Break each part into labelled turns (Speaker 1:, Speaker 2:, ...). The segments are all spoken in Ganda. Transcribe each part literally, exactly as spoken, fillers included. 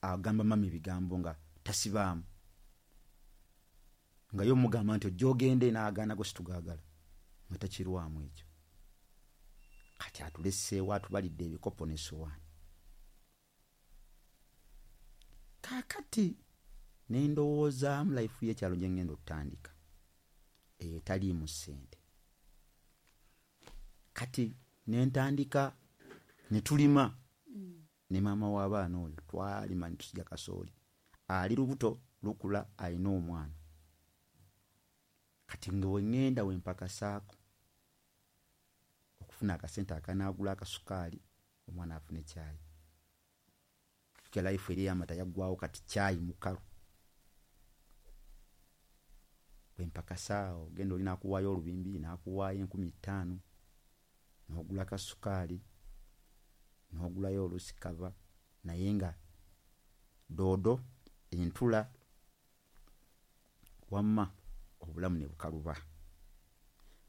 Speaker 1: agamba mami ebigambo nga tasibaamu, nga yo mugamba nti ojja ogende n'agaana go situgaagala, nga takirwamu ekyo. Kati atuleseewo atubalidde ebikopo n'essowaani. Kaakati ne ndowoozaamu life y'ekyalo gye ngenda okutandika etaliimu ssente. Kati ne ntandika ne tulima ne maama w'abaana oyo, twalima ne tusiga kasooli, ali lubuto lukula alina omwana. Kati nga we ŋŋenda we mpakasaako okufuna akasente akanaagula akasukaali omwana afune caayi. Ke life eri ey'amata yaggwawo, kati caayi mukalu. Bwe mpakasaawo ogenda oli n'akuwaayo olubimbi, n'akuwaayo enkumi ttaano, n'ogula kasukaali, n'ogulayo oluusi kava, naye nga doodo entula wamma obulamu ne bukaluba.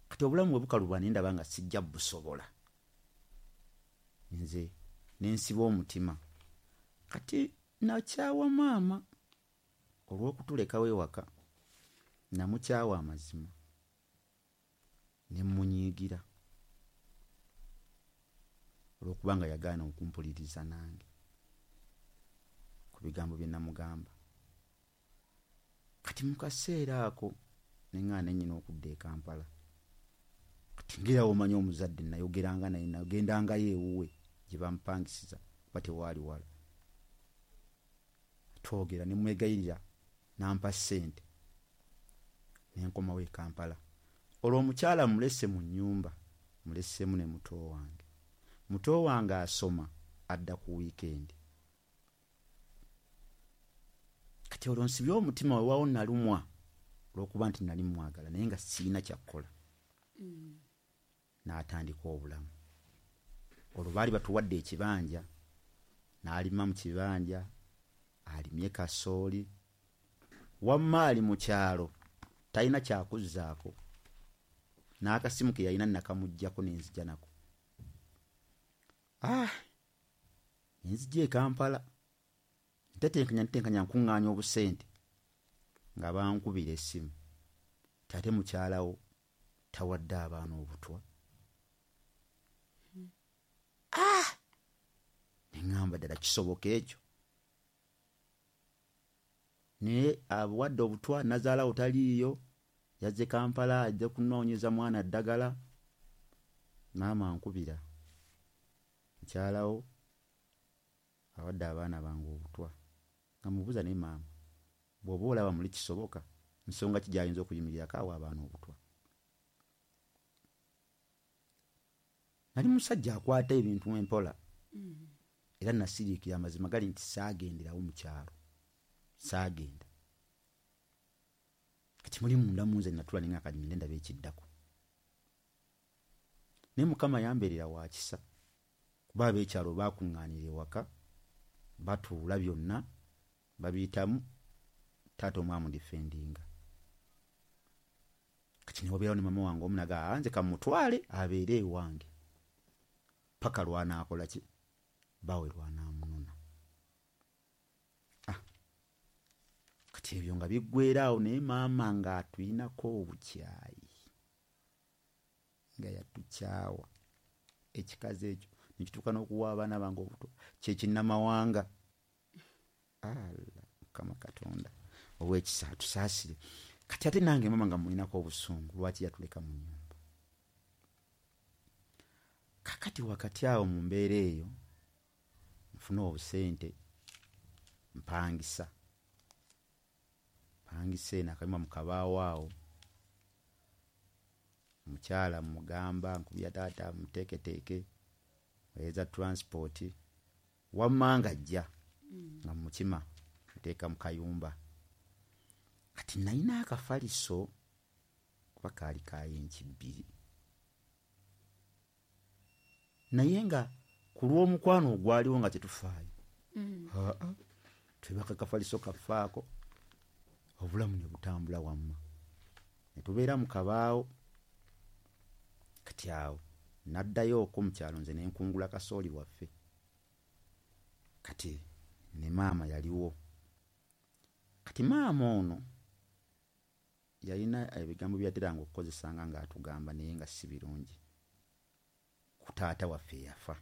Speaker 1: Kati obulamu bwe bukaluba ne ndaba nga sijja busobola, nze ne nsiba omutima. Kati nakyawa maama olw'okutulekawo ewaka, namukyawa amazima ne mmunyiigira olw'okubanga yagaana okumpuliriza nange ku bigambo bye namugamba. Kati mu kaseera ako ne ŋŋaana nnyina okudda e Kampala. Kati ng'era w'omanyi omuzadde nayogeranga naye, nagendangayo ewuwe gye bampangisiza kuba tewaali wala. Twogera ne mwegayirira n'ampa ssente ne nkomawo e Kampala. Olwo omukyala mulese mu nnyumba, muleseemu ne muto wange. Muto wange asoma adda ku wiikendi. Kati olwo nsibye omutima, weewaawo nalumwa olw'okuba nti nali mwagala naye nga sirina kyakukola. N'atandika obulamu. Olwo baali batuwadde ekibanja, n'alima mu kibanja, alimye kasooli. Wamma ali mu kyalo talina kyakuzzaako, n'akasimu ke yalina nakamuggyako ne nzija nako. Ah, ne nzija e Kampala, ntetenkanya ntetenkanya nkuŋŋaanya obusente nga bankubira essimu ti ate mukyalawo tawadde abaana obutwa. Ah! Ne ŋŋamba ddala kisoboka ekyo? Naye abuwadde obutwa, nazaalawo taliiyo, yazze Kampala ajja kunoonyeza mwana ddagala. Maama ankubira, mukyalawo awadde abaana bange obutwa. Nga mubuuza, naye maama bw'oba olaba muli kisoboka, nsonga ki gy'ayinza okuyimirirako awa abaana obutwa? Nali musajja akwata ebintu empola, era nasiriikira. Amazima gali nti saagenderawo mu kyalo, saagenda. Kati muli munda mu nze natula ne nga kati ndaba ekiddako. Naye Mukama yambeerera wa kisa, kuba ab'ekyalo baakuŋŋaanira ewaka, batuula byonna babiyitamu, taata omu amudifendinga. Kati ne wabeerawo ne maama wange omu n'agamba nze kamutwale abeere ewange paka lw'anaakola ki, bbaawe lw'anaamunona. Ah, kati ebyo nga biggweera awo, naye maama ng'atuyinako obukyayi, nga yatukyawa ekikazi ekyo nekituuka n'okuwa abaana bange obutwa kyekinnamawanga. Allah Mukama Katonda ow'ekisa atusaasire. Kati ate nange maama nga mulinako obusungu lwaki yatuleka mu nnyumba. Kakati wakati awo mu mbeera eyo nfuna obusente mpangisa, mpangisa eno akayumba mu kabaawo awo. Omukyala mugamba nkubira taata muteeketeeke weeza transport, wamma nga ajja nga mukima muteeka mu kayumba. Kati nalina akafaliso kuba kaali ka yinki bbiri, naye nga ku lw'omukwano ogwaliwo nga tetufaayo, aa twebaka kafaliso kaffe ako, obulamu ne butambula wamma ne tubeera mu kabaawo. Kati awo naddayo okwo mu kyalo nze ne nkungula kasooli waffe. Kati Ne maama yaliwo. Kati maama ono yalina ebigambo byateranga okukozesanga ng'atugamba, naye nga si birungi ku taata waffe eyafa,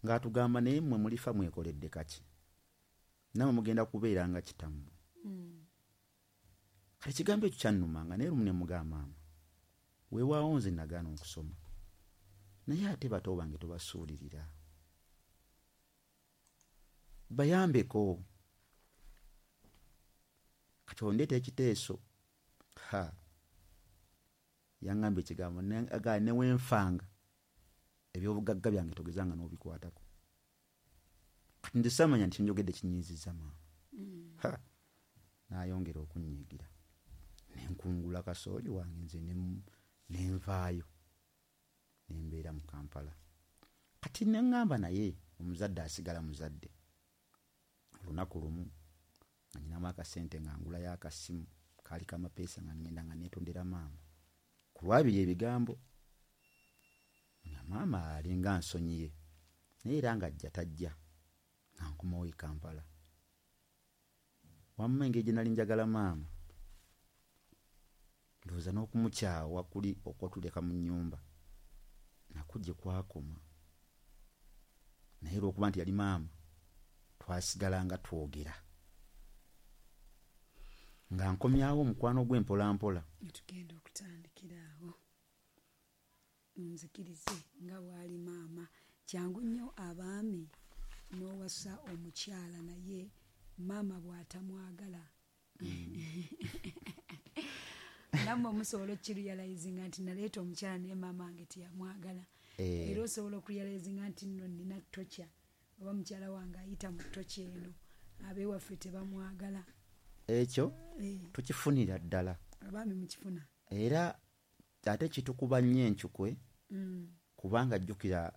Speaker 1: ng'atugamba, naye mmwe mulifa mwekoledde kaki, nammwe mugenda kubeera nga kitammwe.
Speaker 2: Mm.
Speaker 1: Kati ekigambo ekyo kyannumanga, naye lumu ne mugamba maama, weewaawo nze nagaana okusoma, naye ate bato bange tobasuulirira, bayambeko. Kati ondeeta ekiteeso, ha, yaŋŋamba ekigambo, ne- aga ne wenfanga ebyobugagga byange togezanga n'obikwatako. Kati nze saamanya nti njogedde kinyiizizza maama.
Speaker 2: Mm.
Speaker 1: Ha, n'ayongera okunnyiigira, ne nkungula kasooli wange nze ne- ne nvaayo ne mbeera mu Kampala. Kati ne ŋŋamba, naye omuzadde asigala muzadde. Olunaku lumu nga nnyinamu akasente nga ngulayo akasimu kaali kamapeesa, nga ŋŋenda nga neetondera maama ku lwabiri ebigambo, nga maama alinga nsonyiye, naye era ng'ajja tajja, nga nkomawo e Kampala. Wamma engeri gye nali njagala maama, ndowooza n'okumukyawa kuli okwatuleka mu nnyumba nakwo gye kwakoma, naye olw'okuba nti yali maama twasigala nga twogera, nga nkomyawo omukwano gwe mpola mpola.
Speaker 2: Tugenda okutandikira awo, nzikirize nga bw'ali maama. Kyangu nnyo abaami n'owasa omukyala, naye maama bw'atamwagala, nammwe musobola okukirealizinga nti naleeta omukyala naye maama wange teyamwagala.
Speaker 1: Eh,
Speaker 2: era osobola okurealizinga nti nno nina torture, oba mukyala wange ayita mu torture eno, ab'ewaffe tebamwagala.
Speaker 1: Ekyo
Speaker 2: Eh,
Speaker 1: tukifunira ddala.
Speaker 2: Abaami mukifuna.
Speaker 1: Era ate kitukuba nnyo encukwe,
Speaker 2: Mm,
Speaker 1: kubanga jjukira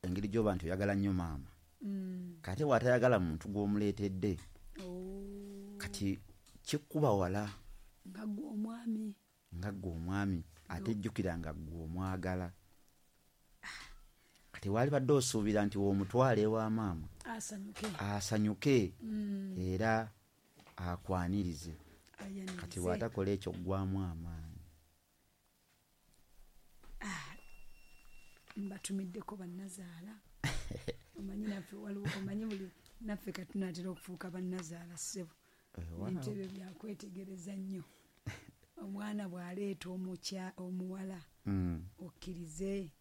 Speaker 1: engeri gy'oba nti oyagala nnyo maama,
Speaker 2: mm.
Speaker 1: kate bw'atayagala muntu gw'omuleetedde,
Speaker 2: Oh,
Speaker 1: kati kikuba wala.
Speaker 2: Nga ggwe omwami.
Speaker 1: Nga ggwe omwami, ate jjukira nga ggwe omwagala. Kati waali badde osuubira nti w'omutwala ewa maama
Speaker 2: asanyuke,
Speaker 1: asanyuke
Speaker 2: Mm,
Speaker 1: era akwanirize. Kati
Speaker 2: ayanirize.
Speaker 1: bw'atakola ekyo, ggwamu amaanyi.
Speaker 2: Mbatumiddeko bannazaala. Omanyi naffe waliwo, omanyi buli naffe katunaatera okufuuka bannazaala, ssebo.
Speaker 1: Weewaawo.
Speaker 2: Ebintu ebyo byakwetegereza nnyo. Omwana bw'aleeta omukya omuwala,
Speaker 1: Mm.
Speaker 2: okkirize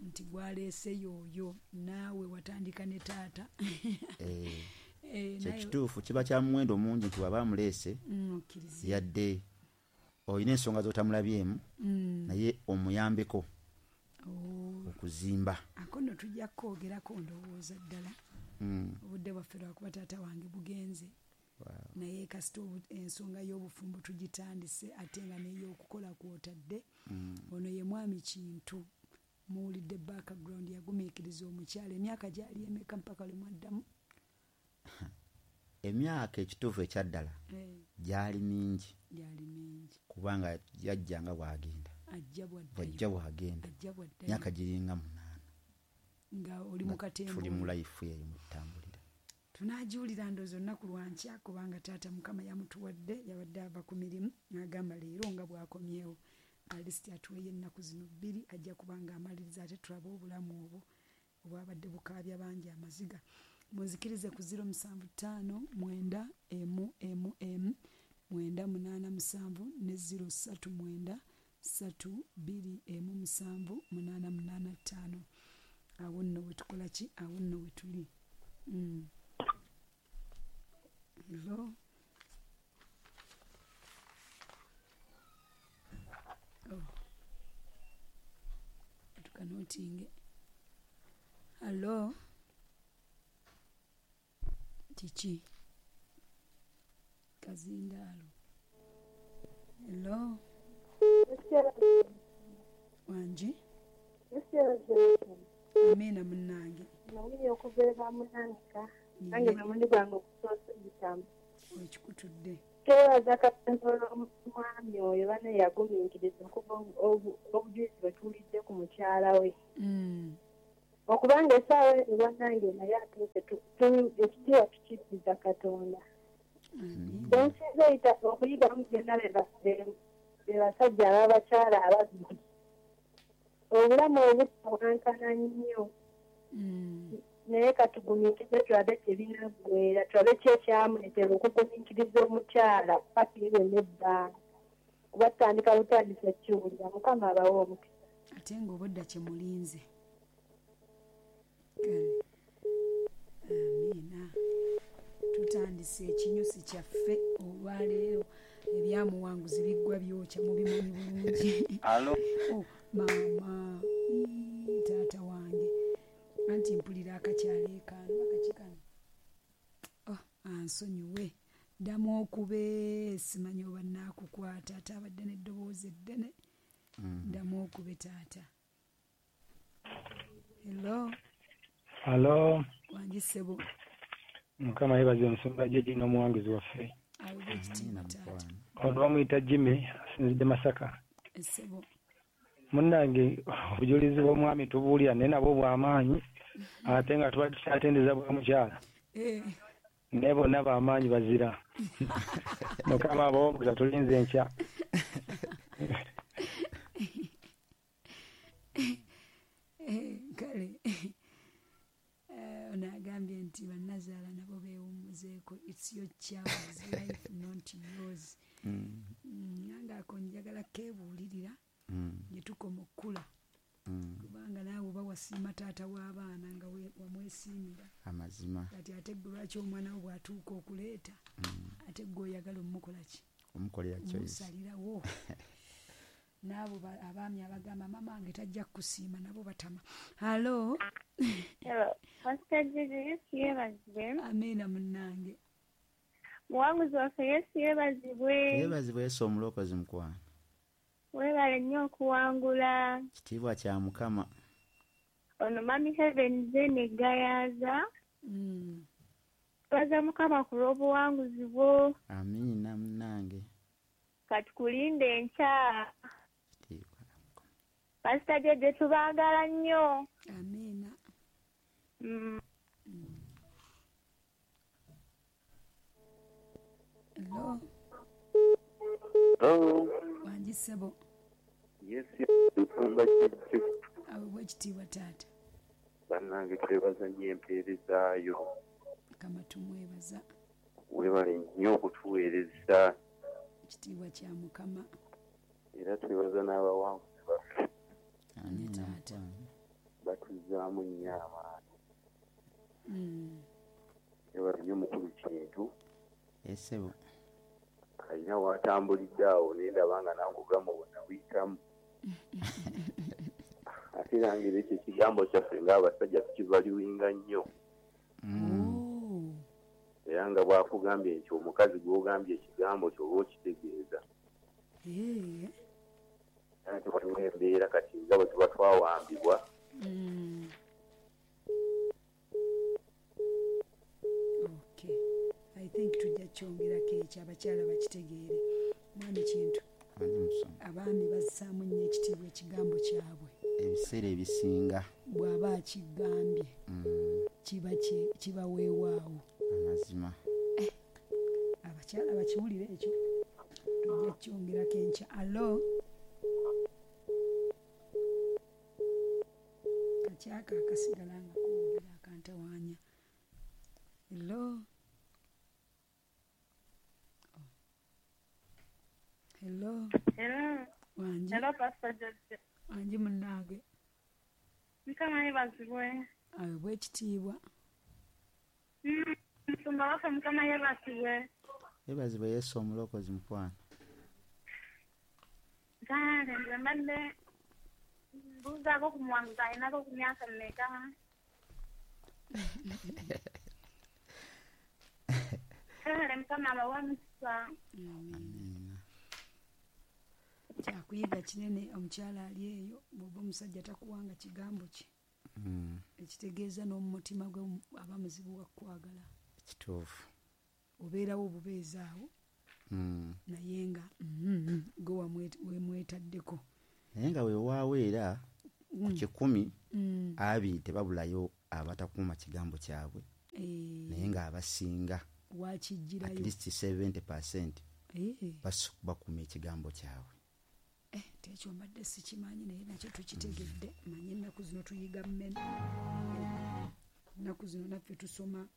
Speaker 2: nti gwaleese y'oyo, naawe watandika ne taata.
Speaker 1: Eh,
Speaker 2: Eh, naye-
Speaker 1: kyekituufu, kiba kya muwendo mungi nti waba amuleese,
Speaker 2: Mm, okkirize.
Speaker 1: yadde olina ensonga z'otamulabyemu,
Speaker 2: Mm.
Speaker 1: naye omuyambeko
Speaker 2: Oh,
Speaker 1: okuzimba.
Speaker 2: Ako nno tujja kukoogerako ndowooza ddala.
Speaker 1: Mm.
Speaker 2: Obudde bwaffe lwakuba taata wange bugenze, naye kasita obu- ensonga y'obufumbo tugitandise, ate nga n'ey'okukola kwotadde.
Speaker 1: Mm.
Speaker 2: Ono ye mwami Kintu, muwulidde background, yagumiikiriza omukyala emyaka gyali emeka mpaka lwe mwaddamu?
Speaker 1: Emyaka ekituufu ekyaddala
Speaker 2: Eh,
Speaker 1: gyali mingi,
Speaker 2: gyali mingi.
Speaker 1: Kubanga yajja nga bw'agenda,
Speaker 2: ajja bwaddayo,
Speaker 1: bwajja bw'agenda,
Speaker 2: ajja bwaddayo.
Speaker 1: Myaka giringa munaana
Speaker 2: nga oli mu
Speaker 1: nga
Speaker 2: katemba.
Speaker 1: Tuli mu life eyo mututambulira.
Speaker 2: Tunaagiwulira ndowooza olunaku lwankya, kubanga taata Mukama yamutuwadde, yabadde ava ku mirimu n'agamba leero nga bw'akomyewo alisiti atuweeyo ennaku zino bbiri, ajja kuba nga amaliriza, ate tulabe obulamu obwo obwabadde bukaabya bangi amaziga. Munzikirize ku zero musanvu ttaano mwenda emu emu emu mwenda munaana musanvu ne zero ssatu mwenda ssatu bbiri emu musanvu munaana munaana ttaano. Awo nno wetukola ki? Awo nno wetuli. Mm. Hello? Oh. Tukanotinge. Hello? Kiki? Kazindaalo. Hello? Wangi? Amiina munnange.
Speaker 3: Nawulira okuva munanika nange
Speaker 2: Ye
Speaker 3: gwe mundi gwange okusoose gitamu.
Speaker 2: Wekikutudde.
Speaker 3: Twebaza Katonda olw'omwami oyo bane yagumiikiriza okuva obu- obujulizi bwe tuwulidde ku mukyala we.
Speaker 2: Mm.
Speaker 3: Okubanga essaawa eno bannange naye atuuse ekitiibwa tukiddiza Katonda. Kyensinza okuyigamu byonna be basajja ab'abakyala ababiri. Obulamu obutawankana nnyo. Naye katugumiikirize tulabe tebinaggweera, tulabe ki ekyamuleetera okugumiikiriza omukyala paka ebyo n'ebbanga. Kuba tutandika butandisi okukiwulira. Mukama abawe omukisa.
Speaker 2: Ate ng'obudda kye mulinze. Amiina. Tutandise ekinyusi kyaffe olwaleero ebyamuwanguzi biggwa byokya mubimanyi bulungi.
Speaker 4: Alo.
Speaker 2: Oh, maama, taata wange. Anti mpulira akakyaleekaano akakikano. Oh, ansonyiwe. Ddamu okube simanyi oba nnaakukwata ate abadde n'eddoboozi eddene. Ddamu okube taata. Hello.
Speaker 5: Hello.
Speaker 2: Wangi ssebo.
Speaker 5: Mukama yeebazibwe omusumba Jjajja n'omuwanguzi waffe.
Speaker 2: Aweebwe ekitiibwa taata.
Speaker 5: Ono bamuyita Jimmy asinzidde Masaka.
Speaker 2: Ssebo.
Speaker 5: Munnange obujulizi bw'omwami tubuulira naye nabwo bw'amaanyi ate nga tuba tukyatendeza bwa mukyala. Naye bonna b'amaanyi bazira. Mukama abawe omukisa tulinze enkya.
Speaker 2: Kale ono agambye nti bannazaala nabo beewummuzeeko. It's your child's life not yours. Nange ako njagala keebuulirira gye tukoma okkula. Kubanga naawe oba wasiima taata w'abaana nga wamwesiimira.
Speaker 1: Amazima.
Speaker 2: Kati ate ggwe lwaki omwana wo bw'atuuka okuleeta ate ggwe oyagala omukola ki?
Speaker 1: Omukolera choice.
Speaker 2: Omusalirawo. N'abo abaami abagamba maama wange tajja kukusiima nabo batama. Hello.
Speaker 6: Hello. Pastor Jjajja, Yesu yeebazibwe.
Speaker 2: Amiina munnange.
Speaker 6: Muwanguzi waffe Yesu yeebazibwe.
Speaker 1: Yeebazibwe Yesu omulokozi mukwano.
Speaker 6: Weebale nnyo okuwangula.
Speaker 1: Kitiibwa kya Mukama.
Speaker 6: Ono Mami Heaven Zene Gayaza. Twebaza Mukama ku lw'obuwanguzi bwo.
Speaker 1: Amiina munnange.
Speaker 6: Katukulinde enkya.
Speaker 1: Kitiibwa kya Mukama.
Speaker 6: Pastor Jjajja tubaagala nnyo.
Speaker 2: Amiina.
Speaker 6: Mm.
Speaker 2: Hello.
Speaker 4: Hello.
Speaker 2: Wangi ssebo.
Speaker 4: Yes, nsumba Jjajja.
Speaker 2: Aweebwe ekitiibwa taata.
Speaker 4: Bannange twebaza nnyo empeerezaayo.
Speaker 2: Mukama tumwebaza.
Speaker 4: Weebale nnyo okutuweereza.
Speaker 2: Ekitiibwa kya Mukama.
Speaker 4: Era twebaza n'abawanguzi baffe.
Speaker 1: Amiina
Speaker 2: taata.
Speaker 4: Batuzzaamu nnyo amaanyi.
Speaker 2: Mm.
Speaker 4: Weebale nnyo mukulu Kintu.
Speaker 1: Ssebo.
Speaker 4: Alina w'atambulidde awo naye ndaba nga nange obulamu bwonna buyitamu. Ate nange era ekyo ekigambo kyaffe ng'abasajja tukivaluwinga nnyo. Era nga bw'akugambye nti omukazi gw'ogambye ekigambo kyo oba okitegeeza. Ate waliwo embeera kati nga bwe tuba twawambibwa.
Speaker 2: Okay. I think tujja kyongerako ekyo abakyala bakitegeere. Mwami Kintu, abaami bassaamu nnyo ekitiibwa ekigambo kyabwe.
Speaker 1: Ebiseera ebisinga.
Speaker 2: Bw'aba akigambye kiba kiba weewaawo.
Speaker 1: Amazima.
Speaker 2: Abakyala bakiwulire ekyo. Tujja kyongerako enkya. Alo. Kakyaka akasigala nga koogera akantawaanya. Hello. Hello.
Speaker 6: Hello.
Speaker 2: Wangi.
Speaker 6: Hello, Pastor Jjajja.
Speaker 2: Wangi munnange.
Speaker 6: Mukama yeebazibwe.
Speaker 2: Aweebwe ekitiibwa.
Speaker 6: Musumba waffe Mukama yeebazibwe.
Speaker 1: Yeebazibwe Yesu omulokozi mukwano.
Speaker 6: Kale nze mbadde mbuuzaako ku muwanguzi alinako ku myaka mmeka? Kale Mukama abawe omukisa.
Speaker 2: Amiina. Kyakuyiga kinene omukyala ali eyo bw'oba omusajja takuwanga kigambo kye. Ekitegeeza n'omu mutima gwe aba muzibu wa kukwagala.
Speaker 1: Kituufu.
Speaker 2: Obeerawo obubeezi awo. Naye nga gwe wemwetaddeko.
Speaker 1: Naye nga weewaawo era Ku kikumi abiri tebabulayo abatakuuma kigambo kyabwe, naye ng'abasinga
Speaker 2: wakigirayo
Speaker 1: at least seventy percent bakuuma ekigambo kyabwe.
Speaker 2: Eh, tekyo mbadde sikimanyi, naye nakyo tukitegedde. Manyi ennaku zino tuyiga mmene, ennaku zino naffe tusoma,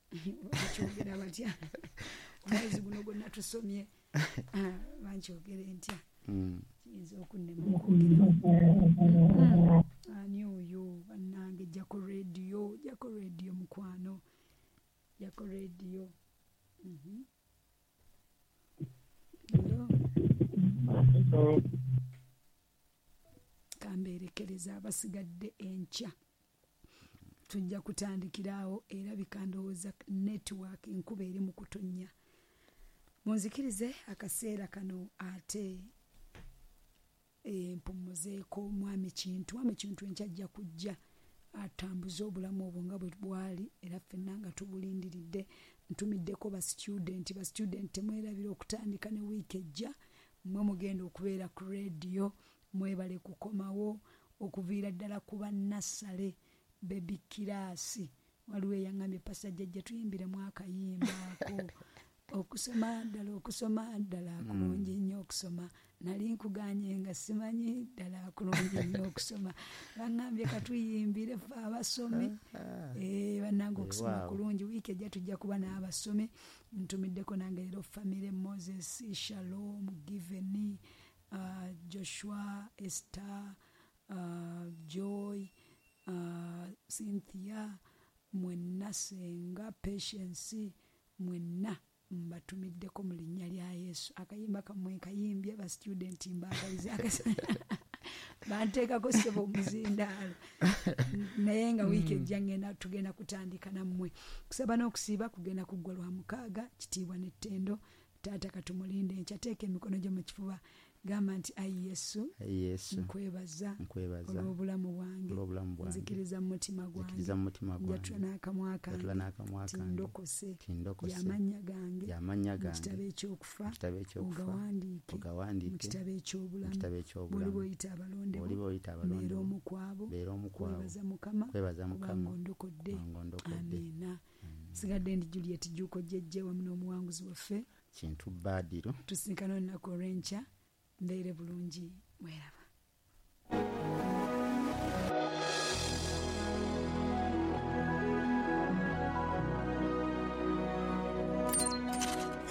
Speaker 2: bakyogera batya omwezi guno gwonna tusomye, bankyogere ntya, kiyinza okunnema okwogera. Ani oyo bannange? Jjako rediyo, jjako rediyo mukwano, jjako rediyo. Kambeerekereza abasigadde enkya tujja kutandikirawo, erabika ndowooza network enkuba eri mu kutonnya. Munzikirize akaseera kano ate mpummuzeeko mwami Kintu. Mwami Kintu enkya ajja kujja atambuze obulamu obwo nga bwe bwali, era ffenna nga tubulindiridde. Ntumiddeko ba student, ba student temwerabira okutandika ne wiiki ejja, mmwe mugenda okubeera ku rediyo, mwebale kukomawo okuviira ddala ku bannassale baby kirasi. Waliwo eyaŋŋambye, Pastor Jjajja tuyimbiremu akayimba ako, okusoma ddala, okusoma ddala kulungi nnyo okusoma. Nali nkuganye nga simanyi ddala kulungi nnyo okusoma, baŋŋambye katuyimbire ffe abasomi. Eh, bannange okusoma kulungi. Wiiki ejja tujja kuba n'abasomi. Ntumiddeko nange leero family Moses, Shalom, Given, uh, Joshua, Esther, uh, Joy, uh, Cynthia, mwenna, Senga, Patience, mwenna mbatumiddeko mu linnya lya Yesu. Akayimba kammwe kayimbye, ba student mbaagaliza banteekako ssebo omuzindaalo, naye nga wiiki ejja ngenda tugenda kutandika nammwe. Kusaba n'okusiiba kugenda kuggwa lwa mukaaga, kitiibwa n'ettendo. Taata katumulinde enkya, teeka emikono gyo mu kifuba, gamba nti ayi Yesu, nkwebaza olw'obulamu bwange, nzikiriza mu mutima gwange, njatula n'akamwa kange tindokose y'amannya gange mu kitabo ekyokufa ogawandiike mu kitabo eky'obulamu, bw'oliba oyita abalonde mbeera omu ku abo, kwebaza Mukama kubanga ondokodde. Amiina. Sigadde ndi Juliet Jjuuko Jjejje wamu n'omuwanguzi waffe
Speaker 1: Kintu Badiro.
Speaker 2: Tusinkana olunaku olw'enkya. Mbeere bulungi, mweraba.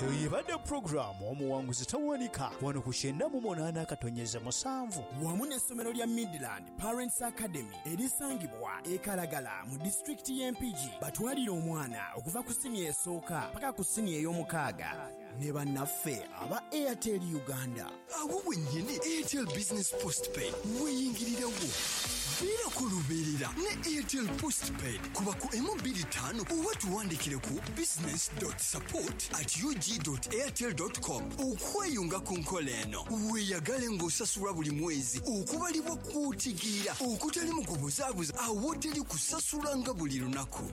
Speaker 7: Eyo yebadde pulogulaamu Omuwanguzi Tawanika wano ku kyenda mu munaana akatonyeza musanvu
Speaker 8: wamu n'essomero lya Midland Parents Academy erisangibwa e Kalagala mu disitulikiti y'e Mpigi. Batwalire omwana okuva ku siniya esooka paka ku siniya ey'omukaaga ne bannaffe aba Airtel Uganda.
Speaker 9: Awo wennyini Airtel Business Postpaid weyingirirawo, beera ku lubeerera ne Airtel Postpaid. Kuba ku emu bbiri ttaano oba tuwandikire ku business dot support at ug dot airtel dot com okweyunga ku nkola eno. Weeyagale ng'osasula buli mwezi okubalibwa kw'otegeera okutali mu kubuzaabuza, awoteri kusasulanga buli lunaku.